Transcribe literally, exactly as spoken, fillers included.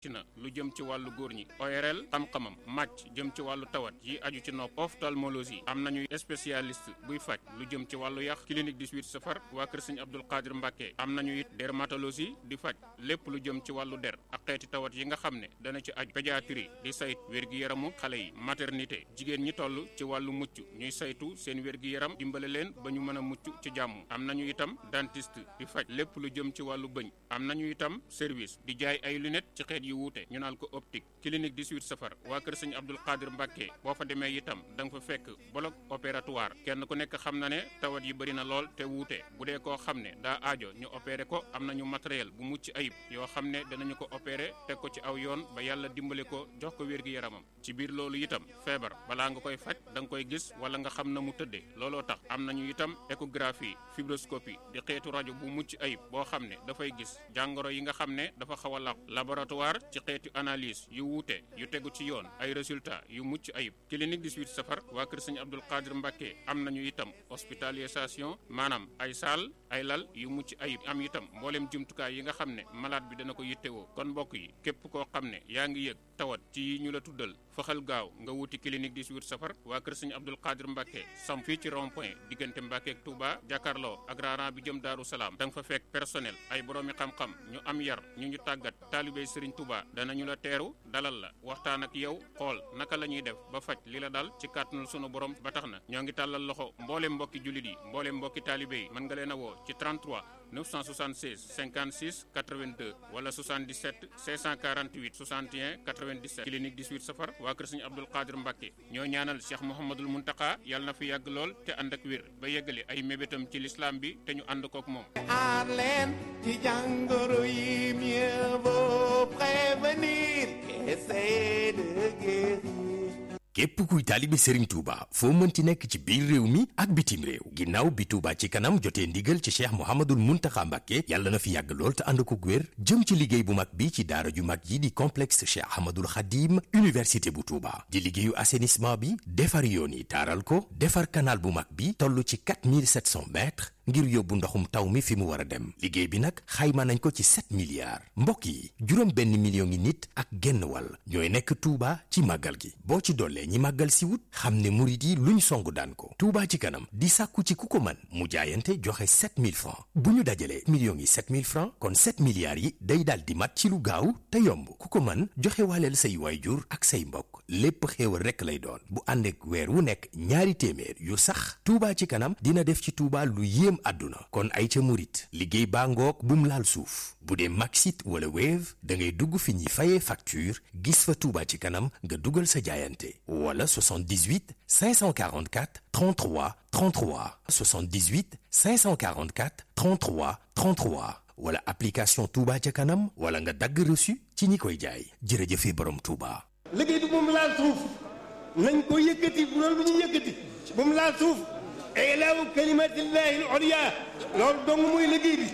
ci na lu jëm ci wàllu góor ñi O R L xam-xamam màcc jëm ci wàllu tawat yi aju ci nopp ophtalmologie am nañu spécialiste buy faj lu jëm ci wàllu yax clinique dix-huit safar waa kër Sëñ Abdul Qadir Mbàkke am nañu it dermatologie di faj lépp lu jëm ci wàllu der ak xeeti tawat yi nga xam ne dana ci aju pédiatrie di sayt wér-gi-yaramu xale yi maternité jigéen ñi toll ci wàllu mucc ñuy saytu seen wér-gi-yaram dimbale leen ba ñu mën a mucc ci jàmm am nañu itam dentiste di faj lépp lu jëm ci wàllu bëñ am nañu itam service di jaay ay lunettes ci xeet yu wuute ñu naan ko optique clinique dix-huit safar waa kër Sëñ Abdul Qadir Mbàkke boo fa demee itam da nga fa fekk bloc opératoire kenn ku nekk xam na ne tawat yi bëri na lool te wuute bu dee koo xam ne daa aajo ñu opéré ko am nañu matériel bu mucc ayib yoo xam ne danañu ko opéré teg ko ci aw yoon ba yàlla dimbale ko jox ko wér-gi-yaramam ci biir loolu itam feebar balaa nga koy faj da nga koy gis wala nga xam na mu tëddee looloo tax am nañu itam échographie fibroscopie di xeetu rajo bu mucc ayib boo xam ne dafay gis jàngoro yi nga xam ne dafa xaw a laq laboratoire ci xeetu analyse yu wuute yu tegu ci yoon ay résultats yu mucc ayib clinique dix-huit safar waa kër Sëñ Abdul Qadir Mbàkke am nañu itam hospitalisation maanaam ay saal ay lal yu mucc ayib am itam mboolem jumtukaay yi nga xam ne malade bi dana ko yittewoo kon mbokk yi képp koo xam ne yaa ngi yëg tawat ci ñu la tuddal faxal gaaw nga wuti clinique dix-huit safar waa kër Sëñ Abdul Qadir Mbàkke sam fii ci rond point diggante Mbàkke ak Touba jàkkaarloo ak raaran bi jëm Daaru Salaam da nga fa fekk personnel ay boroomi xam-xam ñu am yar ñu ñu tàggat taalibey Sëriñ Touba danañu la teeru dalal la waxtaan ak yow xool naka la ñuy def ba faj li la dal ci kàttanul sunu borom ba tax na ñoo ngi tàllal loxo mboolem mbokki jullit yi mboolem mbokki taalibe yi mën nga leen a woo ci trente-trois neuf cent soixante-seize cinquante-six quatre-vingt-deux wala soixante-dix-sept cinq cent quarante-huit soixante et un quatre-vingt-dix-sept clinique dix-huit safar waa kër Sëñ Abdul Qadir Mbàkke ñoo ñaanal Cheikh Mouhamadul Muntaka yàlla na fi yàgg lool te ànd ak wér ba yeggale ay mébétam ci l'islam bi te ñu ànd kook moom. aar leen ci jàngoro yi mieux vaut prévenir qu'essayer de guérir. képp kuy taalibe Serigne Touba foo mënti nekk ci biir réew mi ak bitim réew ginnaaw bi Touba ci kanam jotee ndigal ci Cheikh Mouhamadul Mountakha Mbacké yàlla na fi yàgg lool te ànd ko wér jëm ci liggéey bu mag bi ci daara ju mag yi di complexe Cheikh Ahmadul Khadim université bu Touba di liggéeyu assainissement bi defar yoon yi taaral ko defar canal bu mag bi toll ci quatre mille sept cents mètres ngir yóbbu ndoxum taw mi fi mu war a dem liggéey bi nag xayma nañ ko ci sept milliards mbokk yi juróom benn million ngi nit ak genn wàll ñooy nekk Touba ci màggal gi boo ci dollee ñi màggal si wut xam ne murit yi luñ songu daan ko Touba ci kanam di sàkku ci ku ko mën mu jaayante joxe sept mille francs bu ñu dajalee millions yi sept mille francs kon sept milliards yi day daal di mat ci lu gaaw te yomb ku ko mën joxe waaleel say waayjur ak say mbokk lépp xéewal rekk lay doon bu ànd ak weer wu nekk ñaari téeméer yu sax Touba ci kanam dina def ci Touba lu yéem àdduna kon ay ca murit liggéey baa ngoog bum laal suuf bu dee Maxit wala Wave da ngay dugg fi ñuy fayee facture gis fa Touba ci kanam nga dugal sa jaayante wala soixante-dix-huit cinq cent quarante-quatre trente-trois trente-trois soixante-dix-huit cinq cent quarante-quatre trente-trois trente-trois wala application Touba ca kanam wala nga dagg reçu ci ñi koy jaay jërëjëfe borom Touba. liggéey bi moom laal suuf nañ ko yëkkati bu loolu lu ñu yëkkati moom laal suuf ilaahu kalimatillahi al-ulya loolu dong mooy liggéey bi